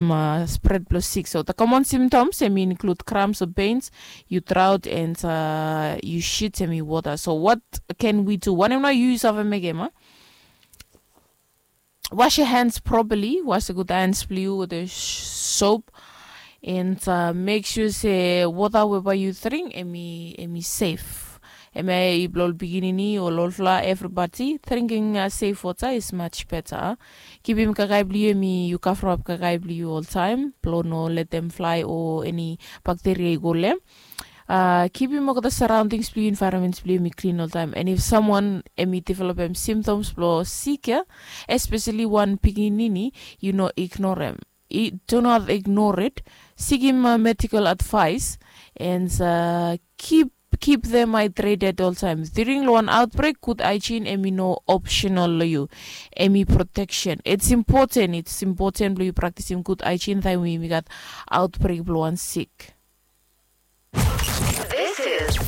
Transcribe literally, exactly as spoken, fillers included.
spred blong sik. So the common symptoms em i include cramps o pains, yu draut and yu shit em i wota. So what can we do? Wanem nao yu save mekem a? Wash your hands properly. Wash the good hands blong yu with the soap. And uh, make sure se wota we bae yu dring em i em i safe. Em ya i blong ol pikinini o ol olfala, everybody drinking uh, safe water is much better. Kipim kakae blong yu em i yu kavrap kakae blong yu oltaem blong no letem flae o eni bakteria i go long em. Uh, kipim olgeta surroundings blong yu, environments blong yu em i klin oltaem. And if someone em i developem symptoms blong sik ya, especially wan pikinini, yu no ignorem. Do not ignore it. Sikim uh, medical advice and uh, keep keep them hydrated all time. During long wan outbreak, good hygiene em i no optional long yu. Em i protection. It's important, it's important blong yu practicing good hygiene taem we yumi gat outbreak blong wan sik.